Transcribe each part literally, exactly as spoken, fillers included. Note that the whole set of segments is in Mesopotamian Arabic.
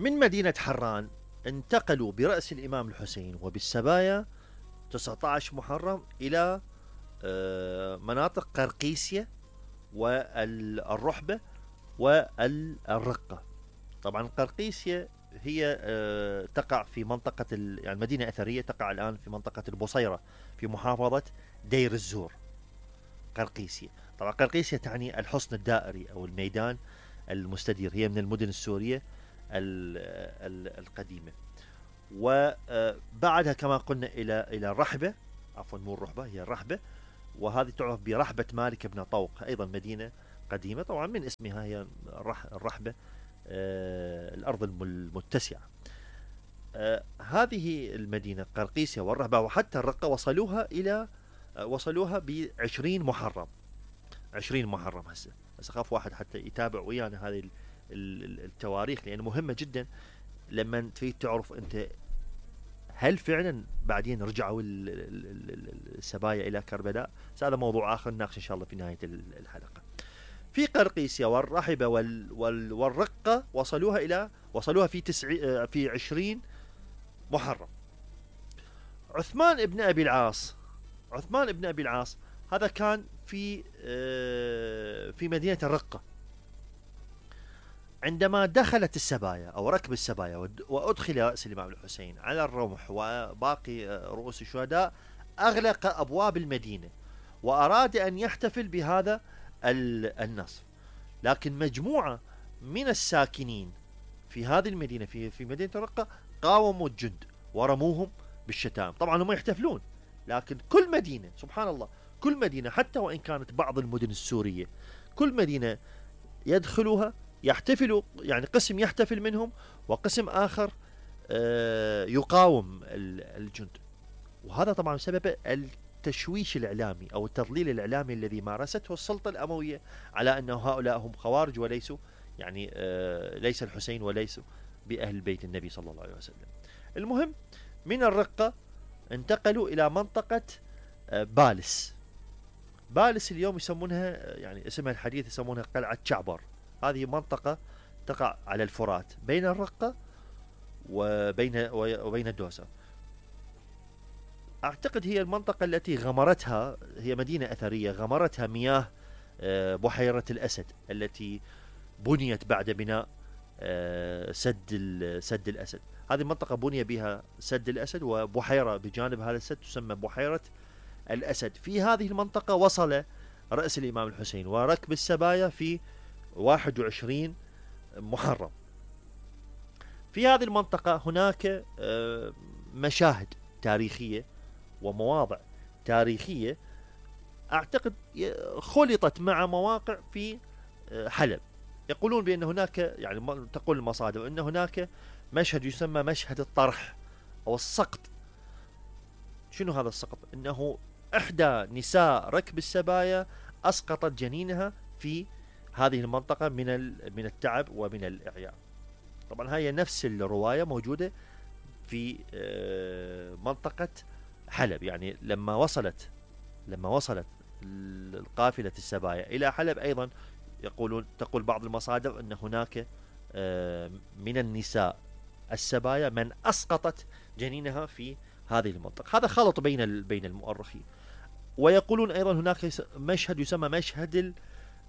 من مدينة حران انتقلوا برأس الإمام الحسين وبالسبايا تسعة عشر محرم إلى مناطق قرقيسية والرحبة والرقة. طبعا قرقيسية هي تقع في منطقة يعني مدينة أثرية تقع الآن في منطقة البصيرة في محافظة دير الزور. قرقيسية طبعا قرقيسية تعني الحصن الدائري أو الميدان المستدير، هي من المدن السورية القديمة. وبعدها كما قلنا إلى إلى الرحبة، عفوا مو الرحبة هي الرحبة، وهذه تعرف برحبة مالك بن طوق، أيضا مدينة قديمة طبعا من اسمها هي الرحبة، آه الأرض المتسعة. آه هذه المدينة قرقيسية والرحبة وحتى الرقة وصلوها إلى آه وصلوها بعشرين محرم. عشرين محرم. هسه هسه خاف واحد حتى يتابع ويانا هذه التواريخ لأنه مهمة جدا لما تريد تعرف أنت هل فعلا بعدين رجعوا السبايا إلى كربلاء. هذا موضوع آخر نناقش إن شاء الله في نهاية الحلقة. في قرقيسية والرحبة وال وال والرقة وصلوها إلى وصلوها في تسع في عشرين محرم. عثمان ابن أبي العاص عثمان ابن أبي العاص هذا كان في في مدينة الرقة. عندما دخلت السبايا أو ركب السبايا وأدخل رأس الإمام الحسين على الرمح وباقي رؤوس الشهداء أغلق أبواب المدينة وأراد أن يحتفل بهذا النصر، لكن مجموعة من الساكنين في هذه المدينة في في مدينة الرقة قاوموا الجند ورموهم بالشتائم. طبعا هم يحتفلون، لكن كل مدينة سبحان الله كل مدينة حتى وإن كانت بعض المدن السورية كل مدينة يدخلوها يحتفلوا، يعني قسم يحتفل منهم وقسم آخر يقاوم الجند. وهذا طبعا بسبب التشويش الإعلامي أو التضليل الإعلامي الذي مارسته السلطة الأموية على أن هؤلاء هم خوارج وليسوا يعني ليس الحسين وليسوا بأهل بيت النبي صلى الله عليه وسلم. المهم من الرقة انتقلوا إلى منطقة بالس. بالس اليوم يسمونها يعني اسمها الحديث يسمونها قلعة شعبر. هذه منطقة تقع على الفرات بين الرقة وبين وبين الدوسة. أعتقد هي المنطقة التي غمرتها، هي مدينة أثرية غمرتها مياه بحيرة الأسد التي بنيت بعد بناء سد سد الأسد. هذه المنطقة بني بها سد الأسد وبحيرة بجانب هذا السد تسمى بحيرة الأسد. في هذه المنطقة وصل رأس الإمام الحسين وركب السبايا في واحد وعشرين محرم. في هذه المنطقة هناك مشاهد تاريخية ومواضع تاريخية أعتقد خلطت مع مواقع في حلب. يقولون بأن هناك يعني تقول المصادر أن هناك مشهد يسمى مشهد الطرح أو السقط. شنو هذا السقط؟ أنه إحدى نساء ركب السبايا أسقطت جنينها في هذه المنطقة من من التعب ومن الإعياء. طبعا هي نفس الرواية موجودة في منطقة حلب. يعني لما وصلت لما وصلت القافلة السبايا إلى حلب أيضا يقولون تقول بعض المصادر أن هناك من النساء السبايا من أسقطت جنينها في هذه المنطقة. هذا خلط بين بين المؤرخين. ويقولون أيضا هناك مشهد يسمى مشهد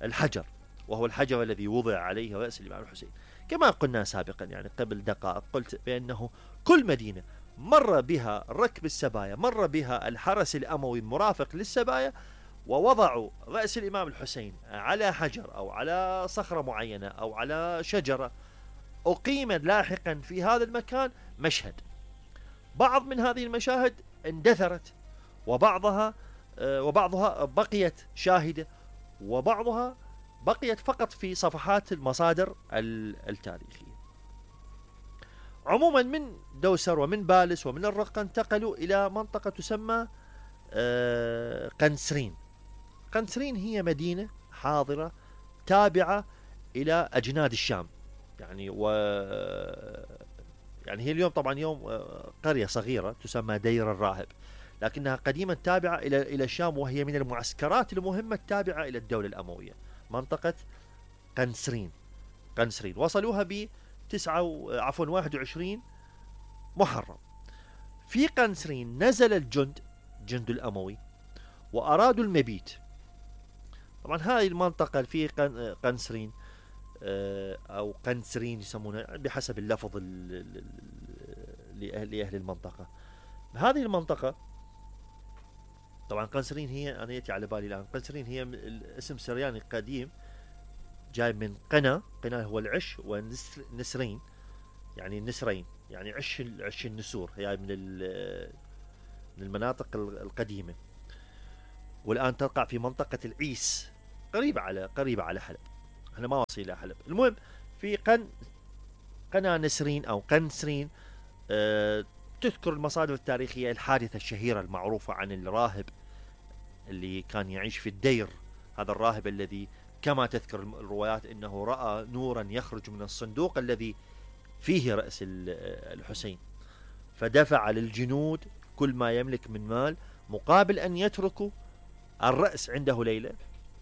الحجر، وهو الحجر الذي وضع عليه رأس الإمام الحسين. كما قلنا سابقا يعني قبل دقائق قلت بأنه كل مدينة مر بها ركب السبايا مر بها الحرس الأموي المرافق للسبايا ووضعوا رأس الإمام الحسين على حجر أو على صخرة معينة أو على شجرة أقيم لاحقا في هذا المكان مشهد. بعض من هذه المشاهد اندثرت وبعضها وبعضها بقيت شاهدة وبعضها بقيت فقط في صفحات المصادر التاريخية. عموما من دوسر ومن بالس ومن الرقة انتقلوا إلى منطقة تسمى قنسرين. قنسرين هي مدينة حاضرة تابعة إلى أجناد الشام، يعني و يعني هي اليوم طبعا يوم قرية صغيرة تسمى دير الراهب، لكنها قديما تابعة إلى إلى الشام، وهي من المعسكرات المهمة التابعة إلى الدولة الأموية. منطقة قنسرين قنسرين وصلوها ب تسعة عفوا واحد وعشرين محرم. في قنسرين نزل الجند جند الأموي وأرادوا المبيت. طبعا هذه المنطقة في قنسرين أو قنسرين يسمونها بحسب اللفظ لأهل المنطقة. هذه المنطقة طبعا قنسرين هي، أنا يأتي على بالي الآن، قنسرين هي اسم سرياني قديم جاي من قنا. قنا هو العش، ونسرين يعني النسرين يعني عش عش النسور، هي من من المناطق القديمة، والآن تقع في منطقة العيس قريبة على قريبة على حلب. احنا ما واصلين إلى حلب. المهم في قن قنا نسرين أو قنسرين أه تذكر المصادر التاريخية الحادثة الشهيرة المعروفة عن الراهب اللي كان يعيش في الدير. هذا الراهب الذي كما تذكر الروايات انه رأى نورا يخرج من الصندوق الذي فيه رأس الحسين، فدفع للجنود كل ما يملك من مال مقابل ان يتركوا الرأس عنده ليلة.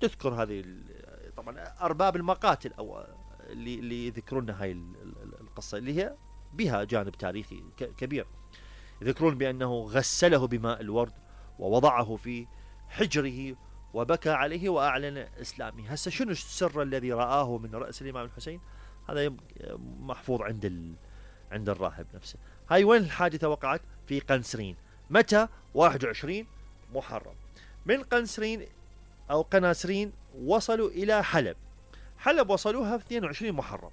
تذكر هذه طبعا ارباب المقاتل او اللي اللي يذكرون هاي القصة اللي هي بها جانب تاريخي كبير، يذكرون بأنه غسله بماء الورد ووضعه في حجره وبكى عليه وأعلن إسلامه. هسه شنو السر الذي رآه من رأس الإمام الحسين؟ هذا محفوظ عند ال... عند الراهب نفسه. هاي وين الحادثة وقعت؟ في قنسرين. متى؟ واحد وعشرين محرم. من قنسرين أو قناسرين وصلوا إلى حلب. حلب وصلوها في اثنين وعشرين محرم.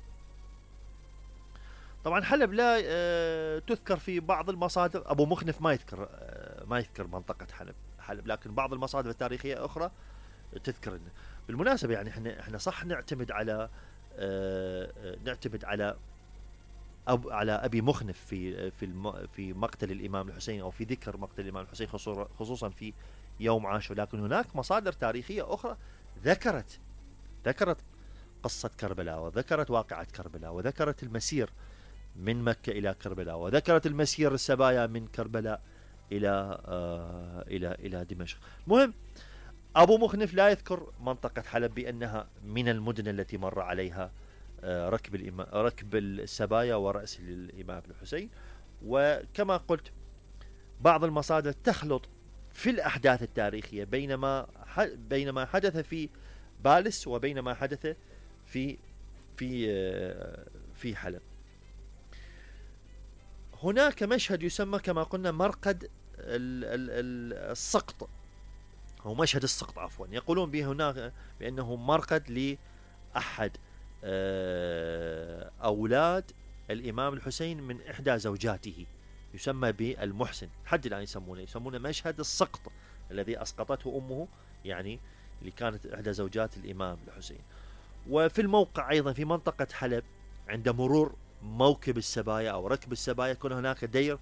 طبعا حلب لا أه تذكر في بعض المصادر، أبو مخنف ما يذكر أه ما يذكر منطقة حلب حلب لكن بعض المصادر التاريخية أخرى تذكر. بالمناسبة يعني احنا احنا صح نعتمد على أه نعتمد على أب على أبي مخنف في في في مقتل الإمام الحسين أو في ذكر مقتل الإمام الحسين خصوصا في يوم عاشوراء، لكن هناك مصادر تاريخية أخرى ذكرت ذكرت قصة كربلاء، وذكرت واقعة كربلاء، وذكرت المسير من مكة إلى كربلاء، وذكرت المسير السبايا من كربلاء إلى آه إلى إلى دمشق. المهم أبو مخنف لا يذكر منطقة حلب بأنها من المدن التي مر عليها آه ركب الإمام ركب السبايا ورأس الإمام الحسين. وكما قلت بعض المصادر تخلط في الأحداث التاريخية بينما بينما حدث في بالس وبينما حدث في في آه في حلب. هناك مشهد يسمى كما قلنا مرقد السقط أو مشهد السقط عفوا، يقولون به هناك بأنه مرقد لأحد أولاد الإمام الحسين من إحدى زوجاته، يسمى بالمحسن. حد الآن يسمونه يسمونه مشهد السقط الذي أسقطته أمه، يعني اللي كانت إحدى زوجات الإمام الحسين. وفي الموقع أيضا في منطقة حلب عند مرور موكب السبايا أو ركب السبايا يكون هناك دير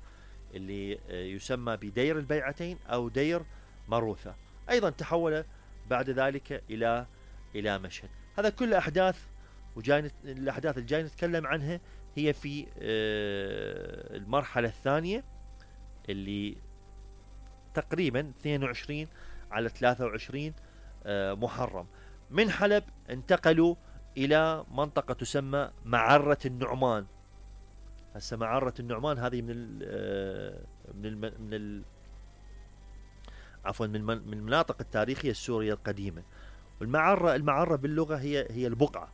اللي يسمى بدير البيعتين أو دير مروثة، أيضا تحول بعد ذلك إلى إلى مشهد. هذا كل أحداث وجاي الأحداث اللي جاي نتكلم عنها هي في المرحلة الثانية اللي تقريبا اثنين وعشرين على ثلاثة وعشرين محرم. من حلب انتقلوا إلى منطقة تسمى معرة النعمان. هسه معرة النعمان هذه من ال من ال من ال عفوا من من المناطق التاريخية السورية القديمة. والمعرة المعرة باللغة هي هي البقعة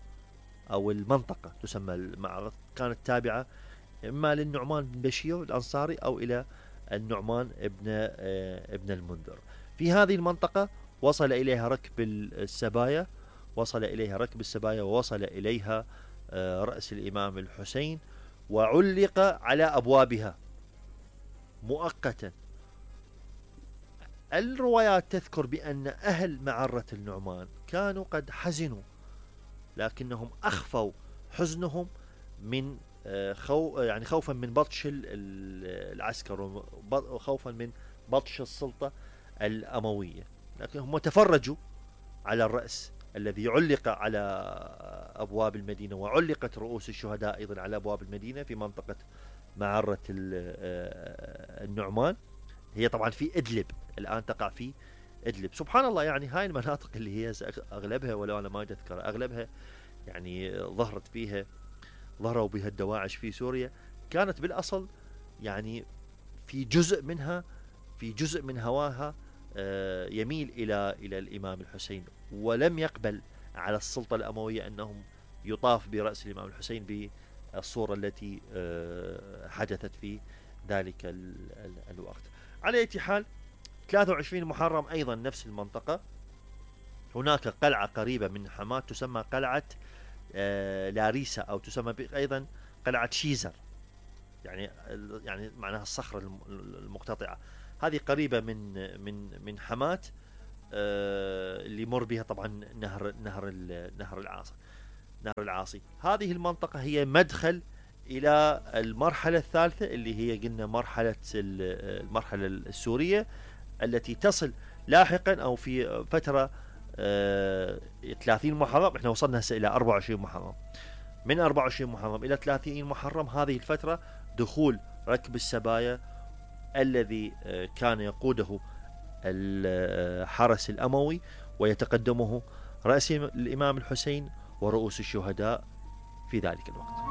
أو المنطقة تسمى المعرة، كانت تابعة إما للنعمان بن بشير الأنصاري أو إلى النعمان ابن ابن المنذر. في هذه المنطقة وصل إليها ركب السبايا وصل إليها ركب السبايا ووصل إليها رأس الإمام الحسين وعلق على أبوابها مؤقتا. الروايات تذكر بأن أهل معرة النعمان كانوا قد حزنوا، لكنهم أخفوا حزنهم من خو يعني خوفا من بطش العسكر وخوفا من بطش السلطة الأموية، لكنهم تفرجوا على الرأس الذي علق على أبواب المدينة، وعلقت رؤوس الشهداء أيضا على أبواب المدينة في منطقة معرة النعمان. هي طبعا في إدلب الآن، تقع في إدلب. سبحان الله، يعني هاي المناطق اللي هي أغلبها ولو أنا ما أذكر أغلبها يعني ظهرت فيها ظهروا بها الدواعش في سوريا كانت بالأصل يعني في جزء منها في جزء من هواها يميل إلى إلى الإمام الحسين، ولم يقبل على السلطة الأموية أنهم يطاف برأس الإمام الحسين بالصورة التي حدثت في ذلك الوقت. على أي حال ثلاثة وعشرين محرم أيضا نفس المنطقة، هناك قلعة قريبة من حماة تسمى قلعة لاريسا أو تسمى أيضا قلعة شيزر، يعني يعني معناها الصخرة المقتطعة، هذه قريبة من من من حماة اللي يمر بها طبعا نهر نهر نهر العاصي نهر العاصي. هذه المنطقة هي مدخل إلى المرحلة الثالثة اللي هي قلنا مرحلة المرحلة السورية التي تصل لاحقا أو في فترة ثلاثين محرم. احنا وصلنا هسه إلى أربعة وعشرين محرم، من أربعة وعشرين محرم إلى ثلاثين محرم هذه الفترة دخول ركب السبايا الذي كان يقوده الحرس الأموي ويتقدمه رأس الإمام الحسين ورؤوس الشهداء في ذلك الوقت.